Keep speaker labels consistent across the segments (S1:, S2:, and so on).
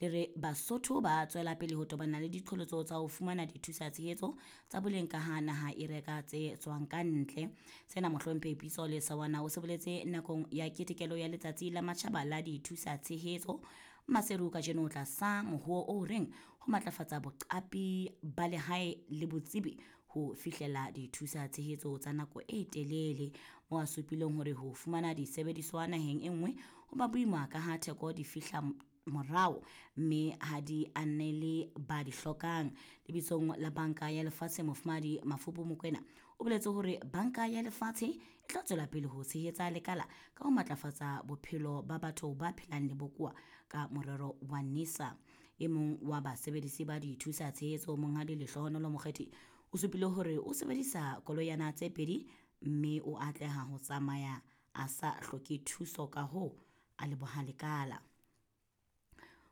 S1: Le re Basotho ba tswela pele ho tobana le diqholotso tsa ho fumana dithusa-tshehetso tsa boleng kaha naha e reka tse tswang ka ntle. Sena Mohlomphehi Pitso Lesaoana o se boletse nakong ya ketekelo ya Letsatsi la Matjhaba la Dithusa-tshehetso Maseru kajeno tlasa mohoo o reng ho matlafatsa boqapi ba lehae le botsebi ho fihlela dithusa-tshehetso tsa nako e telele, moo a supileng hore ho fumana disebediswa naheng e nngwe ho ba boima kaha theko di fihla morao mme ha di anele ba di hlokang. Lebitsong la Banka ya Lefatshe, Mofumahadi Mafupu Mokwena o boletse hore Banka ya Lefatshe e tla tswela pele ho tshehetsa lekala ka ho matlafatsa bophelo ba batho ba phelang le bokowa ka morero wa NISA. E mong wa basebedisi ba dithusa tshehetso, Monghadi Lehlohonolo Mokgethi, o supile hore o sebedisa koloyana tse pedi mme o atleha ho tsamaya a sa hloke thuso, kahoo a leboha lekala.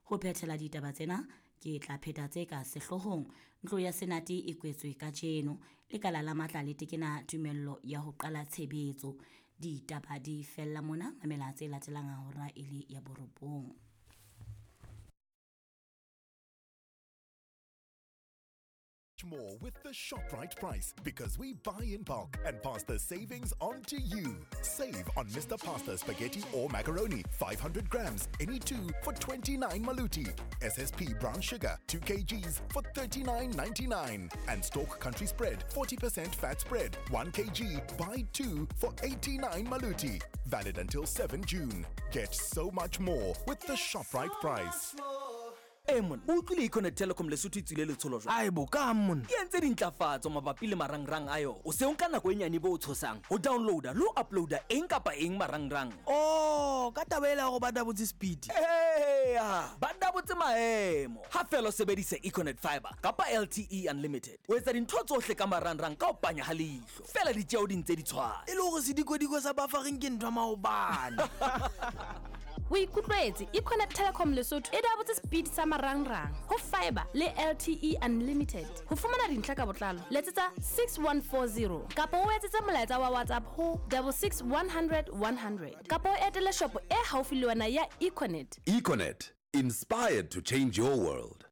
S1: Ho phethela ditaba tsena, ke tla pheta tse ka sehloohong. Ntlo ya Senate e kwetswe kajeno. Lekala la matla le tekena tumello ya ho qala tshebetso. Ditaba di fella mona, mamela tse latelang ha hora e le ya borobong.
S2: More with the ShopRite price because we buy in bulk and pass the savings on to you. Save on Mr. Pasta spaghetti or macaroni, 500 grams, any two for 29 maluti. SSP brown sugar, 2 kgs for 39.99. And Stork Country Spread, 40% fat spread, 1 kg, buy 2 for 89 maluti. Valid until 7 June. Get so much more with the ShopRite price.
S3: Ee monna, o utlwile Econet Telecom Lesotho e tswile letsholo jwang?
S4: Ae bo, kang monna?
S3: E entse dintlafatso mabapi le marangrang a yona. O se o nka nako e nyane bo o tshosang ho downloada le ho uploada eng kapa eng marangrang.
S4: Oh, ka taba ela ya hore ba dabotse speed?
S3: Eya, ba dabotse maemo. Ha feela o sebedisa Econet Fiber kapa LTE Unlimited, o etsa dintho tsohle ka marangrang ka ho panya ha leihlo. Feela ditjeo di ntse di tshwana.
S4: E le hore sedikodiko sa buffering ke ntho ya maobane.
S5: O ikutlwetse, Econet Telecom Lesotho e dabotse speed sa marangrang ho fiber le LTE Unlimited. Ho fumana dintlha ka botlalo, letsetsa 6140 kapa o etsetse molaetsa wa WhatsApp ho 66 100 100 kapa o etele shopo e haufi le wena ya Econet.
S6: Econet, inspired to change your world.